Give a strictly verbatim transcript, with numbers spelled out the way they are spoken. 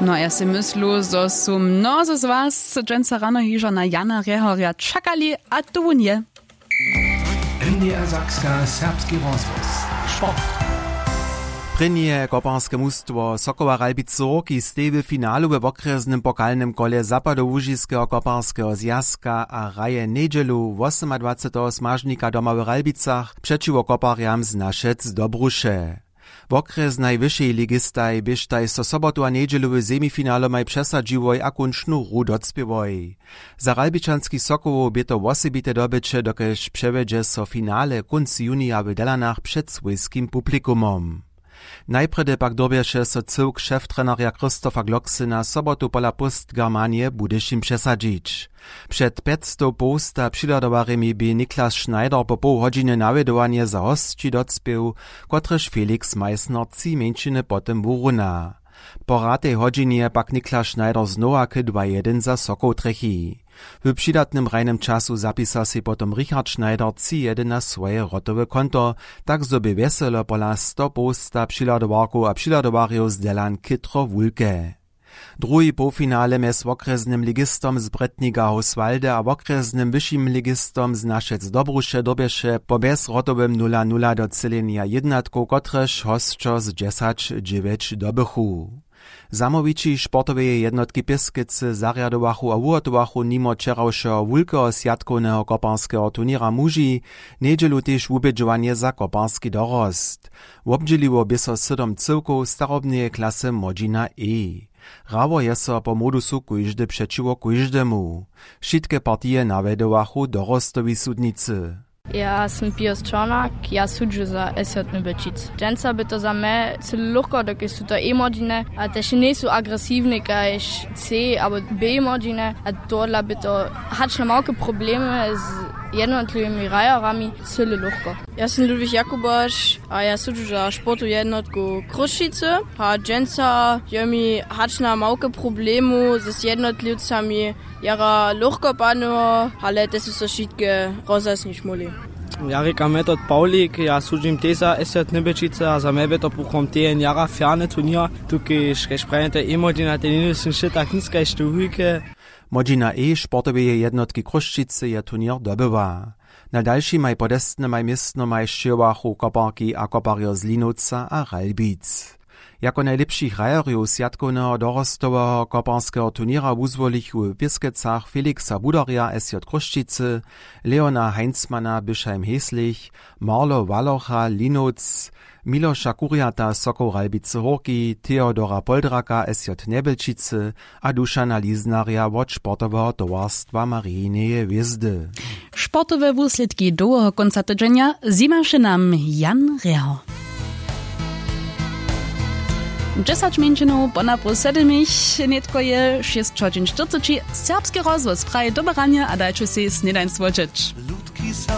No a ja sej myslu zo su mnozy z was dźensa rano hižo na Jana Rjehorja čakali, a tu wón je. N D R Sakska, serbski rozhłos. Sport. Prěnje koparske mustwo Sokoła Ralbicy Hórki steji w finalu we wokrjesnym pokalnym kole zapadołužiskeho koparskeho zwjazka a hraje njedźelu wosomadwaceteho smažnika doma w Ralbicach přećiwo koparjam z Našec do Bruše. Wokrjesnaj wyšej ligistaj běštaj so sobotu a njedźelu w semifinalomaj přesadźiłoj a kónčnu hru docpěłoj. Za ralbičanskich Sokołow bě to wosebite dobyće, dokelž přewjedźe so finale kónc junija w Delanach před swójskim publikumom. Najprjedy pak dyrbješe so cyłk šeftrenerja Christofa Glocksena sobotu pola Post Germanije w Budyšin přesadźić. Před pjećstow połsta přihladowarjemi bě Niklas Schneider po poł hodźiny nawjedowanje za hosći docpěł, kotrež Felix Meissner tři mjeńšiny potom wuruna. Po hratej hodźinje pak Niklas Schneider znowa k dwa jedyn za Sokoł trjechi. W přidatnym hrajnym času zapisa sej potom Richard Schneider tři jedyn na swoje wrotowe konto, tak zo bě wjeselo pola sto połsta přihladowarkow a přihladowarjow z Delan chětro wulke. Druhi połfinale mjez wokrjesnym ligistom z Bretnika Hauswalde a wokrjesnym wyšim ligistom z Našec do Bruše dyrbješe po bjezwrotowym nula nula docylenja jědnatkow, kotrež hosćo z dźesać dźewjeć dobychu. Zamołwići sportoweje jednotki Pěskecy zarjadowachu a wuhotowachu nimo wčerawšeho wulkeho swjatkowneho koparskeho turněra muži njedźelu tež wubědźowanje za koparski dorost. Wobdźěliło bě so sydom cyłkow starobneje klasy młodźina E. Hrało je so po modusu kóždy přećiwo kóždemu. Wšitke partije nawjedowachu dorostowi sudnicy. Ja sym Pius Čornak, ja sudźu za S J Nybyčic. Dźensa by to za mje cyle lóchko, dokelž su to E-młodźiny a tež njejsu agresiwne kaž C abo B-młodźiny, a tohodla by to hač na małke problemy z jednotliwymi hrajerami cyle lóchko. Ja sym Ludwig Jakuboš a ja sudźu za sportowu jednotku Chrósćicy. A dźensa je mi hač na małke problemu z jednotliwcami jara lóchko padnyło, ale te su so wšitke rozhasnić móhli. Ja rěkam Metod Pawlik, ja sudźim tež za S J Nybyčicy a za mje by to puchom tejen jara fjerny turněr, tukež kaž prajene, to E-młodźina, te njesu wšě tak nic kaž te wulke. Młodźina E sportoweje jednotki Chrósćicy je turněr dobyła. Na dalšimaj podestnymaj městnomaj sćěhowachu koparki a koparjo z Linowca a Ralbic. Jako najlěpšich hrajerjow swjatkowneho dorostoweho koparskeho turněra wuzwolichu w Pěskecach Felixa Budarja, S J Chrósćicy, Leona Heinzmana, Bischheim-Heeslich, Marlo Walocha, Linowc, Miloša Kurjata, Sokoł Ralbicy Hórki, Theodora Poldraka, S J Njebjelčicy, a Dušana Liznarja wot sportoweho towarstwa Marijineje hwězdy. Sportowe wuslědki dołheho kónca tydźenja zimaše nam Jan Reho. Dźesać mjeńšinow ponapoł sedymich, nětko je šěsć hodźin štyrceći. Serbski rozhłos praji doberanje a dajće sej snědań słodźeć.